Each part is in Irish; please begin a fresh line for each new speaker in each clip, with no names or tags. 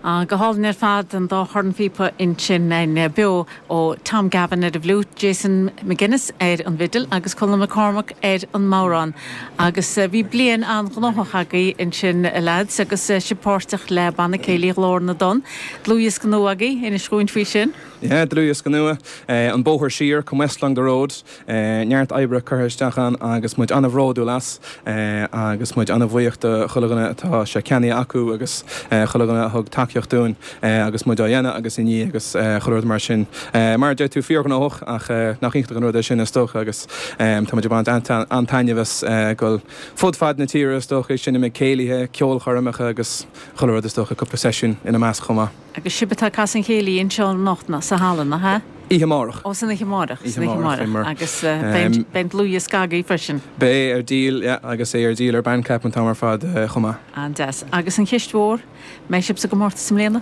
Go hálainn ar fad, an dá chornphíopa ansin beo ó Tom Gavin ar an bhfliúit, Jason McGuinness ar an bhfidil agus Colm McCormack ar an mbodhrán. Agus bhí bliain an-ghnóthach agaibh ansin a leaids agus sibh páirteach le Banna Céilí Ghlór na dTonn. Dlúthdhiosca nua agaibh, inis dhúinn faoi sin.
Yeah, dlúthdhiosca nua, An Bóthar Siar, Come West Along the Road. Neart oibre curtha isteach ann agus muid an-bhródúil as agus muid an-bhuíoch do chuile dhuine atá sé ceannaithe acu agus chuile dhuine a thug tacaíocht dúinn agus muid á dhéanamh agus i ndiaidh agus chuile rud mar sin. Mar a deir tú, fíorghnóthach ach nach iontach an rud é sin is dócha agus tá muid ag baint an-taitneamh as dul fud fad na tíre is dócha ag seinm ag céilithe, ceolchoirmeacha agus chuile rud is dócha, cúpla seisiún ina measc chomh maith.
Agus sibh atá ag casadh an chéilí anseo anocht ná sa halla, nach ea?
Oíche amárach.
Ó, san oíche amárach, san oíche amárach. Agus beidh an dlúthdhiosca agaibh freisin.
Beidh ar díol, yeah, agus é ar díol ar Bandcamp an t-am ar fad chomh maith.
An-deas. Agus an cheist mhór, mbeidh sibh sa gcomórtas i mbliana?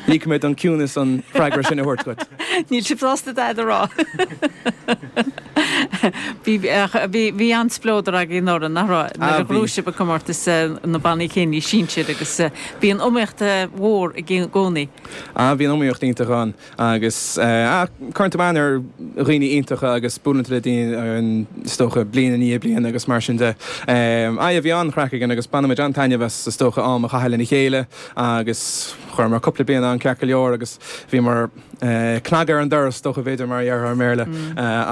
Ligfidh mé don ciúnas an freagra sin a thabhairt dhuit.
Níl sibh sásta dada a rá. Bhí, bhí, bhí an-spleodar agaibh anuraidh, nach raibh, nuair a ghnóthaigh sibh an comórtas na bannaí céilí sinsir agus bíonn iomaíocht mhór i gcónaí.
Ah, bíonn iomaíocht iontach ann agus ah, cuireann tú aithne ar dhaoine iontacha agus buaileann tú le daoine is dócha bliain i ndiaidh bliana agus mar sin de. Ah, yeah, bhí an-chraic againn agus baineann muid an-taitneamh as is dócha am a chaitheamh lena chéile agus chuireamar cúpla bliain ann ceart go leor agus bhíomar cnagadh ar an doras, is dócha b'fhéidir mar a déarfá i mBéarla,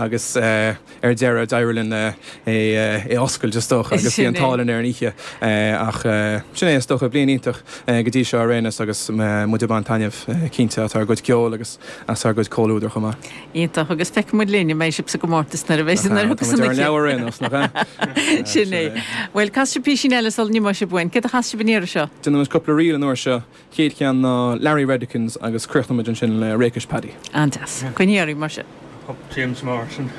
agus ar deireadh d'éirigh linn é a oscailt is dócha agus bhí an t-ádh linn ar an oíche. Ach sin é is dócha, bliain iontach go dtí seo ar aon nós agus muid ag baint taitneamh cinnte as ár gcuid ceoil agus as ár gcuid comhluadair chomh maith.
Iontach, agus feicfidh muid linn an mbeidh sibh sa gcomórtas nuair a bheidh nuair a thiocfas an oíche.
Tá muid ar an leabhar ar aon nós, nach
ea? Sin é. Bhuel, casfaidh sibh písín eile sula n-imeoidh sibh uainn. Céard a chasfaidh sibh an iarraidh seo?
Déanfaidh muid cúpla ríl an uair seo. Chéad cheann ná Larry Reddikins agus críochnóidh muid ansin le Rakish Paddy.
An-deas. Coinnigh oraibh mar sin.
James Morrison.